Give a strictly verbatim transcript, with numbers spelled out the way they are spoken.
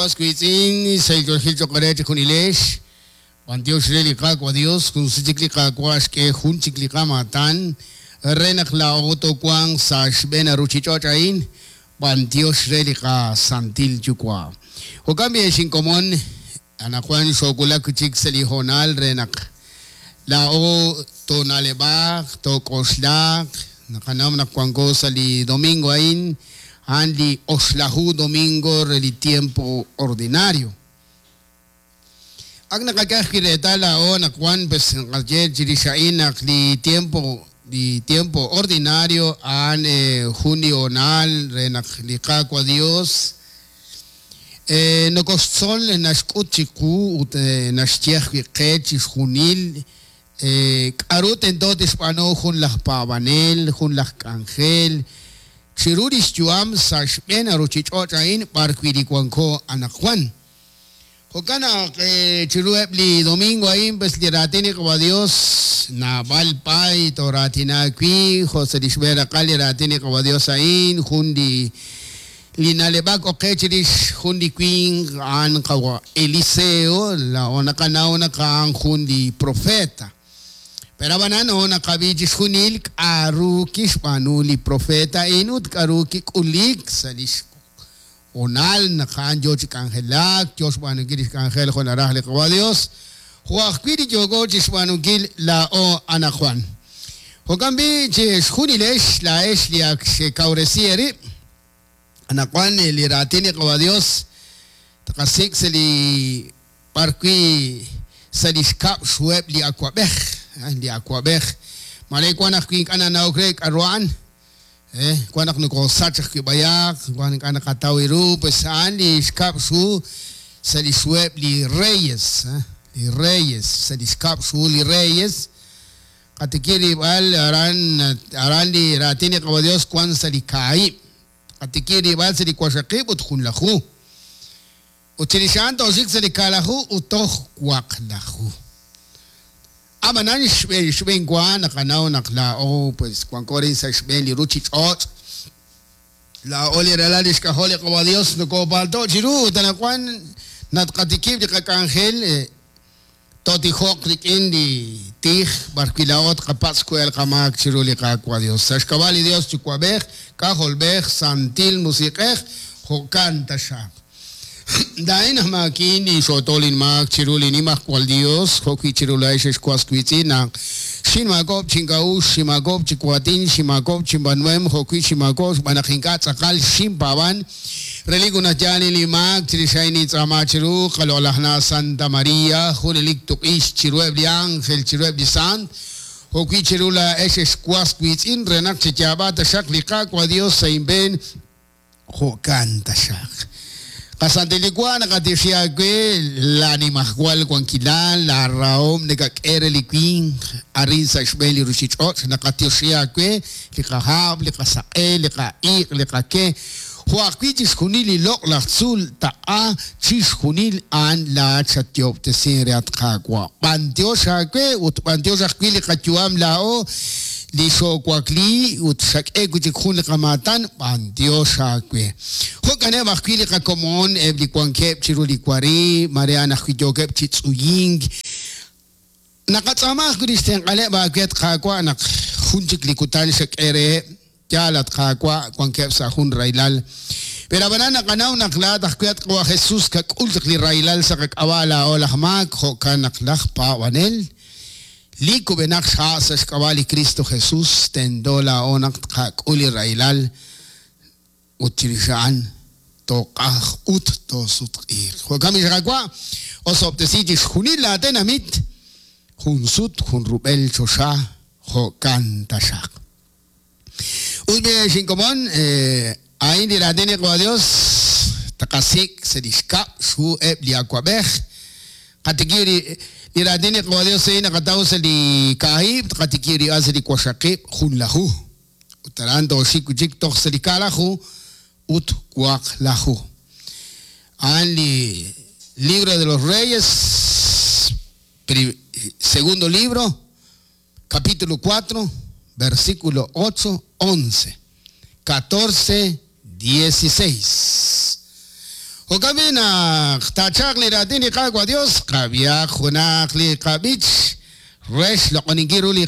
was wiitz'in sahil ch'oq re chijunilex b'antiox re li Qaawa' Dios jun chik li Qaawa' xk'e jun chik li qamaatan re naq laa'o toowanq sa' xb'een ruchich'och' a'in b'antiox re li qasantil Yuwa'. Jo'kan b'i xinkomon anaqwan xoowulak chik sa' li hoonal re naq laa'o toona'leb'aq took'oxlaq naqanaw naq wanko sa' li domingo a'in a'an li oxlaju domingo re li tiempo ordinario. Ak naqak'aj reetal laa'o naq wan pues naqaye chirix a'in naq li tiempo li tiempo ordinario a'an jun li hoonal re naq li Qaawa' Dios nokoxtzol naxk'ut chiqu ut naxye ajwi' qe chixjunil k'aru tento tixb'aanu jun laj paab'anel jun laj k'anjel chiru lix yu'am sa' xb'een ruchich'och' a'in b'arwi' li wanko anaqwan. Jo'kan naq chiru eb' li domingo a'in pues li raatin li Qaawa' Dios naab'al pay tooraatina wi' jo' sa' li xb'een raqal li raatin li Qaawa' Dios a'in jun li li na'leb'ak oqe chirix jun li winq a'an Qawa' Eliseo laa'o naqanaw naq a'an jun li profeta. Pero ab'anan no naqab'i chixjunil k'aru kixb'aanu li profeta a'in ut k'aru kik'ulik sa' lix hoonal naq a'an yo chi k'anjelak yo xb'aanunkil lix k'anjel jo' naraj li Qaawa' Dios jo' ajwi' li yooko chixb'aanunkil laa'o anaqwan. Jo'kan b'i chixjunilex laa'ex li ak xekawresi eerib' anaqwan li raatin li Qaawa' Dios taqasik' sa' li b'arwi' sa' li xkab' xhuheb' li awab'ej li awab'ej mare wan ajwi' ink'a' nanawok re k'aru a'an eh wan naq nokosach ajwi' b'ayaq wan ink'a' naqataw ru pues a'an li xkab' xhu sa' li xhuheb' li reyes li reyes sa' li xkab' xhu li reyes qatikir rib'al aran aran li raatin li Qaawa' Dios wan sa' li kaahib' qatikir rib'al sa' li waxaqib' ut junlaju ut chirix a'an tooxik sa' li kaalaju ut toj waqlaju. Ab'anan xb'een xb'een wa naqanaw naq laa'o pues wanko rin sa' xb'een li ruchich'och' laa'o li ralal li xk'ajol li Qaawa' Dios nokoopalto' chiru ut anaqwan natqatikib' li qak'anjel tootijoq rik'in li tij b'arwi' laa'o tqapatz' ku'el qamaak chiru li Qaawa' Dios. Sa' xk'ab'a' li Dios Yuwa'b'ej, K'ajolb'ej, Santil Musiq'ej, jo'kan taxaq. Laa'in aj maakin inxootol inmaak chiru li Nimajwal Dios jo'wi' chiru laa'ex xwas wiitz'in naq xinmaak'ob' chink'a'uxl xinmaak'ob' chiwaatin xinmaak'ob' chinb'anuem jo'wi' xinmaak'ob' xb'aan naq ink'a' tz'aqal xinpaab'an relik unaj yaal li maak chirix a'in nintz'aama chiru qaloq'laj na Santa María junelik tuq'ix chiruheb' li ángel chiruheb' li sant jo'wi' chiru laa'ex xwas wiitz'in re naq chiyaab'a taxaq li Qaawa' Dios sa' inb'een jo'kan taxaq. Qasantil Yuwa' naqatixi aawe la Nimajwal wankilal la rahom nakak'e re li winq arin sa' xb'een li ruchich'och' naqatixi aawe li qahab' li qasaq'e li qa'iq' li qake jo' ajwi' chixjunil li loq' laj tzuul taq'a chixjunil a'an laa'at xatyoob'tesin re at Qaawa'. B'antiox aawe ut b'antiox ajwi' li qayu'am laa'o li xoowakli ut xak'e wi' chik jun li qamaatan b'antiox aawe. Jo'kaneb' ajwi' li qakomon eb' li wankeb' chiru li wari mare a'an ajwi' yookeb' chi tz'uyink. Naqatz'aama ajwi' li xtenq'aleb' aawe at Qaawa' naq jun chik li kutan xak'e reheb' yaal at Qaawa' wankeb' sa' jun raylal. Pero ab'anan naqanaw naq laa'at ajwi' at Qaawa' Jesus kak'ul chaq li raylal sa' qak'ab'a' laa'o laj maak jo'kan naq laj paab'anel li kub'enaq xha' sa' xk'ab'a' li Cristo Jesus tento laa'o naq tqak'ul li raylal ut chirix a'an toq'aj ut toosutq'iiq. Jo'kan b'i Qaawa' osob'tesi chixjunil laatenamit jun sut jun rub'el choxa jo'kan taxaq. Ut b'i xinkomon a'in li raatin li Qaawa' Dios taqasik' sa' li xkab' xhu eb' li awab'ej qatikir li raatin li Qaawa' Dios a'in naqataw sa' li kaahib' tqatikir ri'al sa' li waxaqib' junlaju ut aran tooxik wi' chik toj sa' li kaalaju ut waqlaju. A'an li libro de los Reyes, segundo libro, capítulo cuatro, versículo ocho, once, catorce, dieciséis. Jo'kan b'i' naq taachalq li raatin li Qaawa' Dios, qab'ihaq junaq li qab'ich re xloq'oninkil ru li